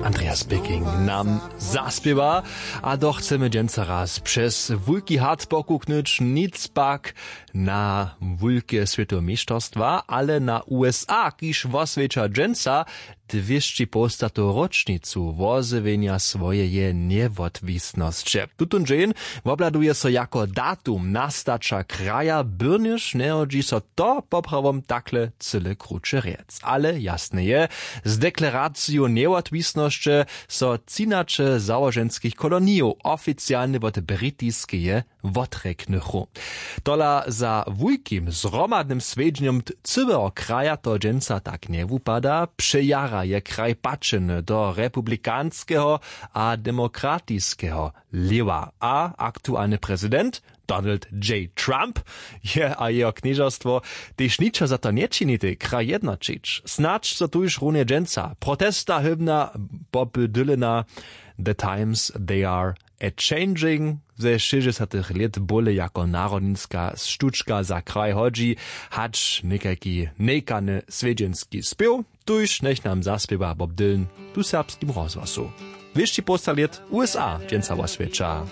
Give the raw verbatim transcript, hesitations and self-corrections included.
Andreas Bicking nam zaspěwa. A doch chcemy dźensa raz přez wulki hart pokuknyć, nic pak na wulke swětowe měšćerstwa, ale na usa, kiž woswjeća dźensa dwěsći połstatow ročnicu wozjewjenja swojeje njewotwisnosće. Tutón dźeń wobhladuje so jako datum nastaća kraja, byrnjež njehodźi so to poprawom takle cyle kruće rjec, ale jasne je, z deklaraciju njewotwisnosće so třinaće załoženskich kolonijow oficialnje wot britiskeje wotrjeknychu. Tola za wulkim zhromadnym swjedźenjom cyłeho kraja to dźensa tak njewupada. Přejara je kraj pačeny do republikanskeho a demokratiskeho lěwa a aktualny prezident Donald J Trump je a jeho knježerstwo tež ničo za to nječinitej kraj jednoćić. Snadź so tuž runje dźensa protesta hymna Boba Dylana The times they are a changing ze šěsćdźesatych lět bóle jako narodninska štučka za kraj hodźi, hač někajki njejkany swjedźenski spěw. Tuž njech nam zaspěwa Bob Dylan tu w serbskim rozhłasu. Wěsći połsta lět usa dźensa woswjeća.